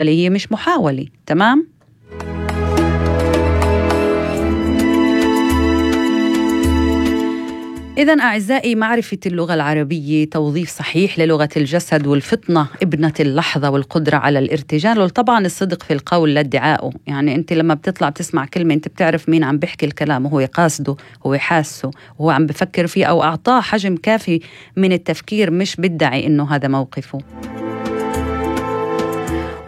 اللي هي مش محاولة. تمام؟ إذن أعزائي، معرفة اللغة العربية توظيف صحيح للغة الجسد والفطنة ابنة اللحظة والقدرة على الارتجال، وطبعا الصدق في القول لا ادعائه. يعني أنت لما بتطلع بتسمع كلمة أنت بتعرف مين عم بيحكي الكلام وهو قاصده، هو حاسه وهو عم بفكر فيه، أو أعطاه حجم كافي من التفكير، مش بدعي إنه هذا موقفه.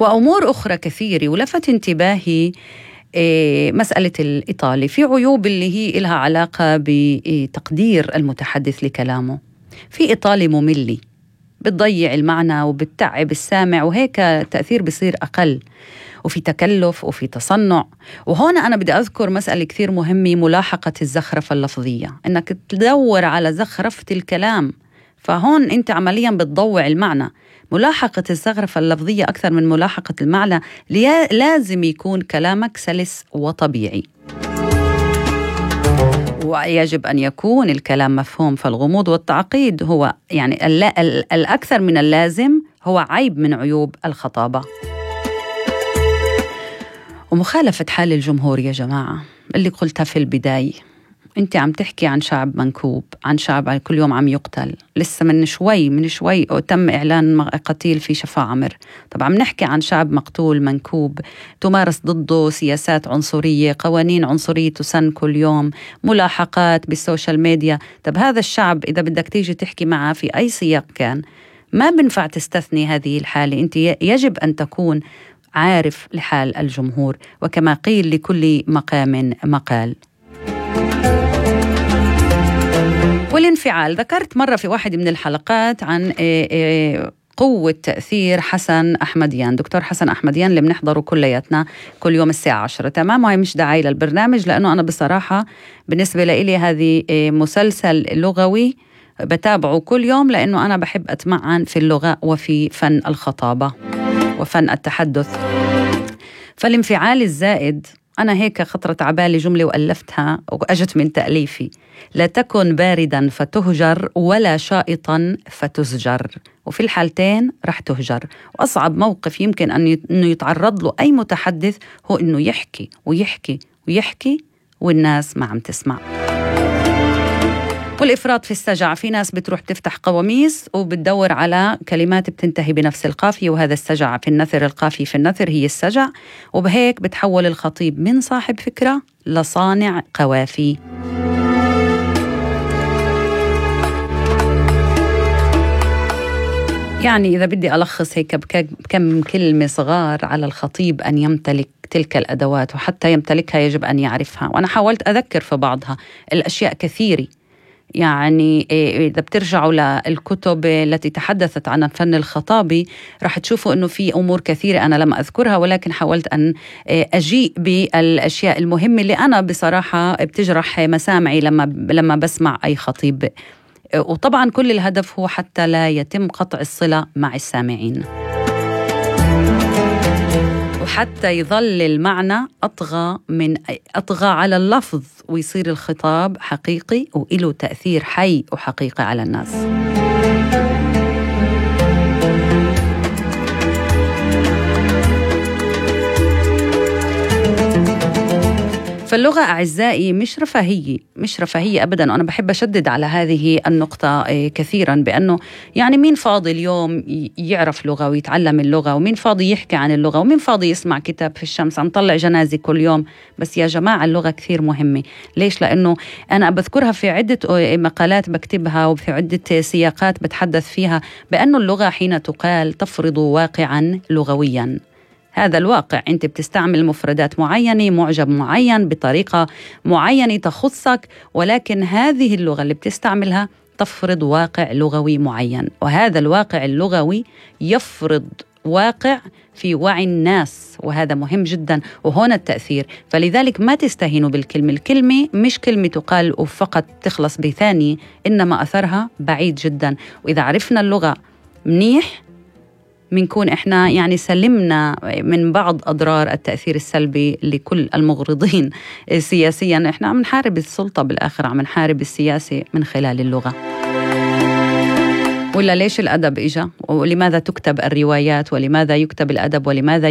وأمور أخرى كثيرة. ولفت انتباهي مسألة الإيطالي في عيوب اللي هي إلها علاقة بتقدير المتحدث لكلامه. في إيطالي مملي بتضيع المعنى وبتتعب السامع، وهيك تأثير بصير أقل، وفي تكلف وفي تصنع. وهون أنا بدي أذكر مسألة كثير مهمة، ملاحقة الزخرفة اللفظية، إنك تدور على زخرفة الكلام، فهون أنت عمليا بتضوع المعنى. ملاحقة الزخرفة اللفظية أكثر من ملاحقة المعنى. لازم يكون كلامك سلس وطبيعي، ويجب أن يكون الكلام مفهوم. فالغموض والتعقيد هو يعني الأكثر من اللازم هو عيب من عيوب الخطابة. ومخالفة حال الجمهور يا جماعة اللي قلتها في البداية. انت عم تحكي عن شعب منكوب، عن شعب كل يوم عم يقتل. لسه من شوي تم إعلان قتيل في شفا عمر. طبعا عم نحكي عن شعب مقتول منكوب، تمارس ضده سياسات عنصرية، قوانين عنصرية تسن كل يوم، ملاحقات بالسوشيال ميديا. طب هذا الشعب إذا بدك تيجي تحكي معه في أي سياق كان، ما بنفع تستثني هذه الحالة. انت يجب أن تكون عارف لحال الجمهور، وكما قيل لكل مقام مقال. والانفعال، ذكرت مرة في واحد من الحلقات عن قوة تأثير حسن أحمديان، دكتور حسن أحمديان اللي بنحضره كلياتنا كل يوم الساعة 10. تمام؟ وهي مش دعاية للبرنامج، لأنه أنا بصراحة بالنسبة لي هذه مسلسل لغوي بتابعه كل يوم، لأنه أنا بحب أتمعن في اللغة وفي فن الخطابة وفن التحدث. فالانفعال الزائد، أنا هيك خطرت عبالي جملة وألفتها وأجت من تأليفي: لا تكن بارداً فتهجر، ولا شائطاً فتزجر. وفي الحالتين رح تهجر. وأصعب موقف يمكن أنه يتعرض له أي متحدث هو أنه يحكي ويحكي ويحكي والناس ما عم تسمع. والإفراط في السجع، في ناس بتروح تفتح قواميس وبتدور على كلمات بتنتهي بنفس القافية، وهذا السجع في النثر. القافية في النثر هي السجع، وبهيك بتحول الخطيب من صاحب فكرة لصانع قوافي. يعني إذا بدي ألخص هيك بكم كلمة صغار على الخطيب أن يمتلك تلك الأدوات، وحتى يمتلكها يجب أن يعرفها. وأنا حاولت أذكر في بعضها. الأشياء كثيرة، يعني إذا بترجعوا للكتب التي تحدثت عن الفن الخطابي رح تشوفوا أنه في أمور كثيرة أنا لم أذكرها، ولكن حاولت أن أجيء بالأشياء المهمة اللي أنا بصراحة بتجرح مسامعي لما بسمع أي خطيب. وطبعا كل الهدف هو حتى لا يتم قطع الصلة مع السامعين، وحتى يظل المعنى أطغى على اللفظ، ويصير الخطاب حقيقي وإله تأثير حي وحقيقي على الناس. فاللغة أعزائي مش رفاهية أبداً. وأنا بحب أشدد على هذه النقطة كثيراً، بأنه يعني مين فاضي اليوم يعرف لغة ويتعلم اللغة، ومين فاضي يحكي عن اللغة، ومين فاضي يسمع كتاب في الشمس. عم طلع جنازة كل يوم. بس يا جماعة اللغة كثير مهمة. ليش؟ لأنه أنا بذكرها في عدة مقالات بكتبها وفي عدة سياقات بتحدث فيها، بأنه اللغة حين تقال تفرض واقعاً لغوياً. هذا الواقع، أنت بتستعمل مفردات معينة، معجب معين، بطريقة معينة تخصك، ولكن هذه اللغة اللي بتستعملها تفرض واقع لغوي معين، وهذا الواقع اللغوي يفرض واقع في وعي الناس، وهذا مهم جدا. وهنا التأثير. فلذلك ما تستهينوا بالكلمة. الكلمة مش كلمة تقال وفقط تخلص بثانية، إنما أثرها بعيد جدا. وإذا عرفنا اللغة منيح منكون إحنا يعني سلمنا من بعض أضرار التأثير السلبي لكل المغرضين سياسيا. إحنا عم نحارب السلطة بالآخر، عم نحارب السياسة من خلال اللغة. ولا ليش الأدب إجا؟ ولماذا تكتب الروايات؟ ولماذا يكتب الأدب؟ ولماذا